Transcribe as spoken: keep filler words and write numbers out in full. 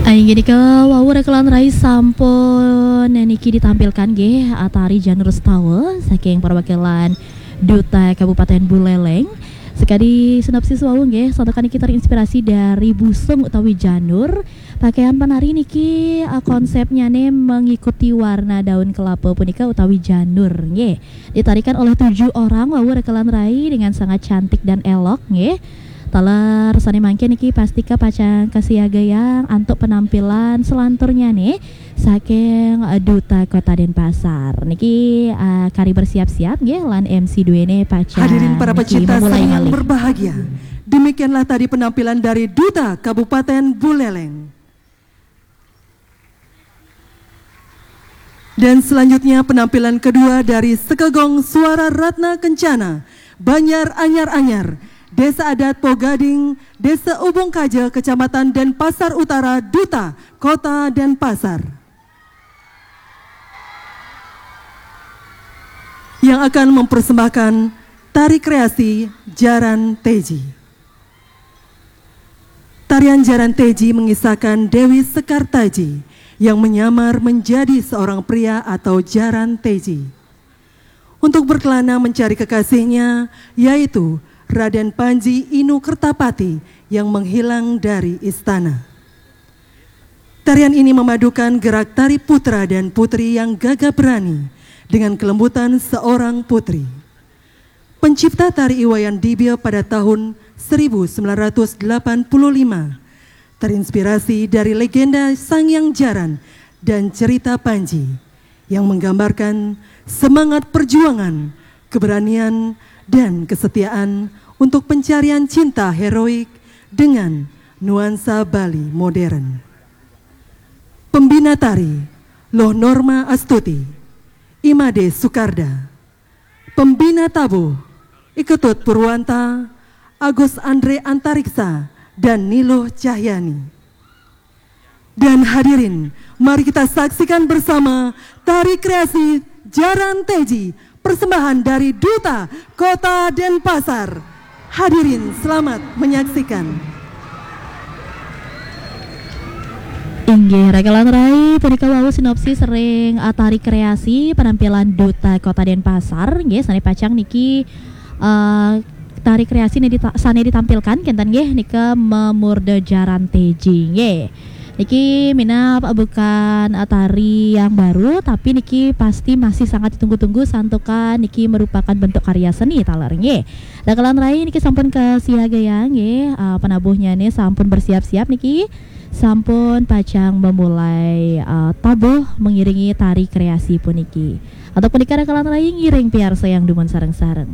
Inggih nika wau rekan rai sampun niki ditampilkan nggih, ah, tari Janur Setawa saking perwakilan Duta Kabupaten Buleleng. Sekadi sinopsis wau nggih, santukan niki terinspirasi dari busung utawi janur. Pakaian penari niki, ah, konsepnya ne mengikuti warna daun kelapa punika utawi janur nggih. Ditarikan oleh tujuh orang wau rekan rai dengan sangat cantik dan elok nggih. Taler sane mangkin niki pastika pacang kasiagayang antuk penampilan selanturnya nih saking, eh, Duta Kota Denpasar. Niki, eh, kari bersiap-siap nggih lan M C duene pacang. Hadirin para niki pecinta memulai seni yang malih berbahagia, demikianlah tadi penampilan dari Duta Kabupaten Buleleng. Dan selanjutnya penampilan kedua dari Sekegong Suara Ratna Kencana, Banjar Anyar-Anyar, Desa Adat Pogading, Desa Ubung Kaja, Kecamatan Denpasar Utara, Duta Kota Denpasar. Yang akan mempersembahkan tari kreasi Jaran Teji. Tarian Jaran Teji mengisahkan Dewi Sekar Taji yang menyamar menjadi seorang pria atau Jaran Teji untuk berkelana mencari kekasihnya, yaitu Raden Panji Inu Kertapati yang menghilang dari istana. Tarian ini memadukan gerak tari putra dan putri yang gagah berani dengan kelembutan seorang putri. Pencipta tari Iwayan Dibia pada tahun seribu sembilan ratus delapan puluh lima terinspirasi dari legenda Sang Yang Jaran dan cerita Panji yang menggambarkan semangat perjuangan, keberanian, dan kesetiaan untuk pencarian cinta heroik dengan nuansa Bali modern. Pembina tari, Loh Norma Astuti, Imade Sukarda. Pembina tabuh, I Ketut Purwanta, Agus Andre Antariksa, dan Niluh Cahyani. Dan hadirin, mari kita saksikan bersama tari kreasi Jaran Teji, persembahan dari Duta Kota Denpasar. Hadirin, selamat menyaksikan. Inggih, rekan rai, punika wau sinopsis ring, eh, tari kreasi penampilan Duta Kota Denpasar. Nggih, sane pacang niki, eh, tari kreasi ne dita-, sane ditampilkan kenten nggih nika memurda Jaran Teji nggih. Niki minab bukan, eh, tari yang baru, tapi niki pasti masih sangat ditunggu-tunggu santukan niki merupakan bentuk karya seni taler nggih. Rekan rai, niki sampun kasiagayang nggih, eh, penabuhnya nih sampun bersiap-siap niki. Sampun pacang memulai, eh, tabuh mengiringi tari kreasi puniki. Antuk punika rekan rai ngiring piarsa yang dumun sareng-sareng.